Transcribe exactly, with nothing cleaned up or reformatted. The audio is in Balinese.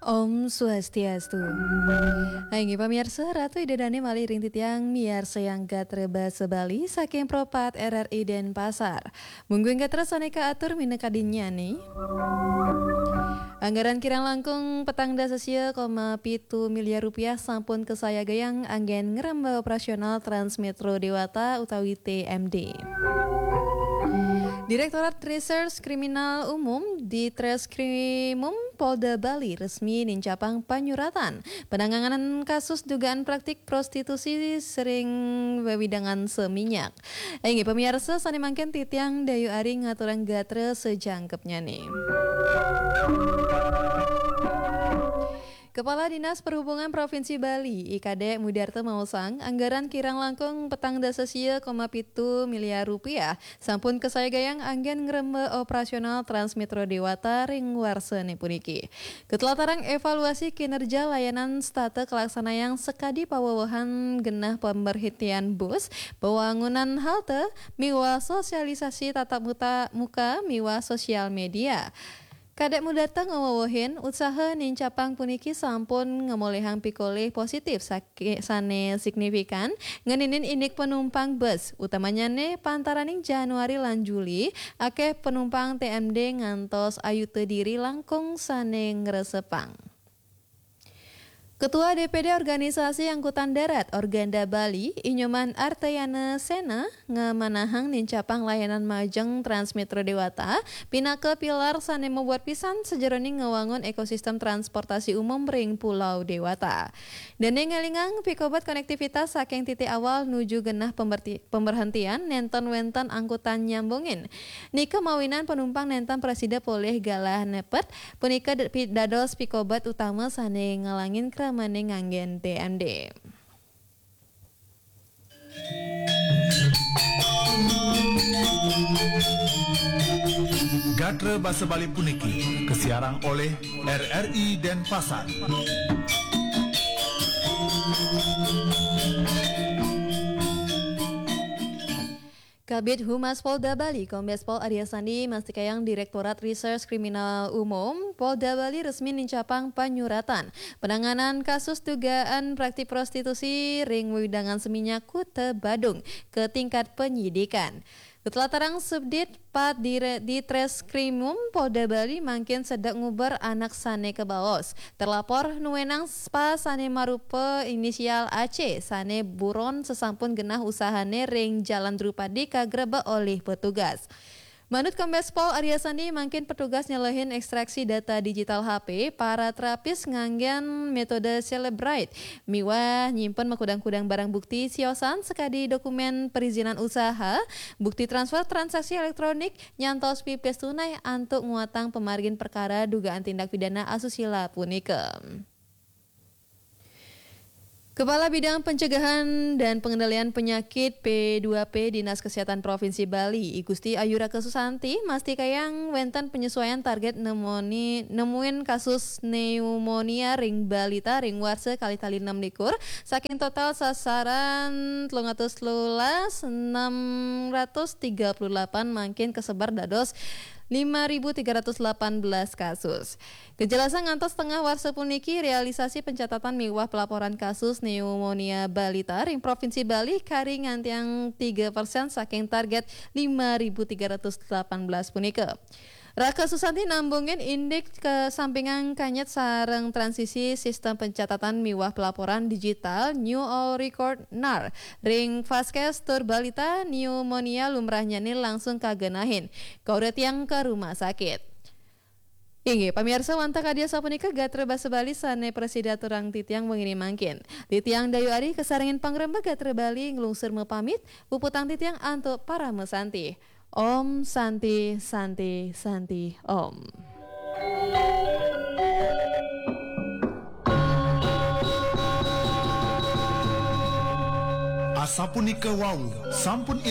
Om Swastiastu. Inggih pamiarsa, Ratu Ida Dané malih ring titiang miarsayang gatra basa Bali saking Pro pat R R I Denpasar. Mungguing gatra sané kaatur minakadinyané. Anggaran kirang langkung petang dasa sia koma pitu miliar rupiah sampun kasayagayang anggén ngrembak operasional Trans Metro Dewata utawi T M D. Direktorat Reserse Kriminal Umum, Ditreskrimum, Polda Bali resmi nincapang panyuratan penanganan kasus dugaan praktik prostitusi ring wewidangan seminyak. Inggih pamiarsa, sané mangkin titiang Dayu Ari ngaturang gatra sajangkepnyané. Kepala Dinas Perhubungan Provinsi Bali, I Kadék Mudarta maosang, anggaran kirang langkung petang dasa sia koma pitu miliar rupiah sampun kasayagayang anggén ngrembak operasional Trans Metro Dewata ring warsané puniki. Katlatarang evaluasi kinerja layanan setata kalaksanayang sakadi pawewehan genah pemberhentian bus, pawangunan halte, miwah sosialisasi tatap muta-, muka miwah sosial media. Kadék Mudarta ngawewehin, usaha nincapang puniki sampun ngamolihang pikolih positif saki-, sané signifikan ngeninin indik penumpang bus, utamanyané pantaraning Januari lan Juli, akéh penumpang T M D ngantos ayuta diri langkung sané ngresepang. Ketua D P D Organisasi Angkutan Darat Organda Bali, I Nyoman Artayana Sena, ngamanahang nincapang layanan majeng Trans Metro Dewata pinaka pilar sané mabuat pisan sajeroning ngawangun ekosistem transportasi umum ring Pulau Dewata. Dané ngelingang pikobat konektivitas saking titik awal nuju genah pemberti-, pemberhentian nénten wénten angkutan nyambungin. Nika mawinan penumpang nénten prasida polih galah nepet, punika d-, pi-, dados pikobat utama sané ngalangin kramané nganggén T M D. Gatra basa Bali puniki kasiarang olih R R I Denpasar. Kabid Humas Polda Bali, Kombes Pol Arya Sandi, mastikayang Direktorat Reserse Kriminal Umum Polda Bali resmi nincapang panyuratan penanganan kasus dugaan praktik prostitusi ring wewidangan seminyak Kuta Badung ke tingkat penyidikan. Katlatarang Subdit Pat Dire-, Ditreskrimum Polda Bali mangkin sedek nguber anak sané kabaos. Terlapor nuénang spa sané marupa inisial A C sané buron sasampun genah usahané ring Jalan Drupadi kagrebek olih petugas. Manut Kombes Pol Arya Sandi, mangkin petugas nyelehin ekstraksi data digital H P para terapis nganggén metode Cellebrite miwah nyimpen makudang-kudang barang bukti siosan sakadi dokumén perizinan usaha, bukti transfer transaksi elektronik, nyantos pipis tunai antuk nguatang pamargin perkara dugaan tindak pidana asusila punika. Kepala Bidang Pencegahan dan Pengendalian Penyakit P dua P Dinas Kesehatan Provinsi Bali, I Gusti Ayu Raka Susanti, mastikayang wénten penyesuaian target nemoni-, nemuin kasus pneumonia ring balita ring warsa kalih tali enam likur, saking total sasaran telung atus telulas, enam ratus tiga puluh delapan mangkin kasebar dados lima ribu tiga ratus delapan belas kasus. Kejelasan ngantos tengah warsa puniki, realisasi pencatatan miwah pelaporan kasus pneumonia balita ring Provinsi Bali kari ngantiang tiga persen saking target lima ribu tiga ratus delapan belas punika. Raka Susanti nambungin indik kasampingan kanyet sareng transisi sistem pencatatan miwah pelaporan digital New All Record, nar, ring Vaskes tur balita pneumonia lumrahnyané langsung kagenahin. Kauratiang ka rumah sakit. Inggih, pamiarsa, wantah kadi asapunika gatra basa Bali sané prasida aturang titiang wenginé mangkin. Titiang Dayu Ari kasarengin pangrembag gatra Bali nglungsur mapamit, puputang titiang antuk parama santi. Om Santi, Santi, Santi, Om. Asapunika wau, sampun iring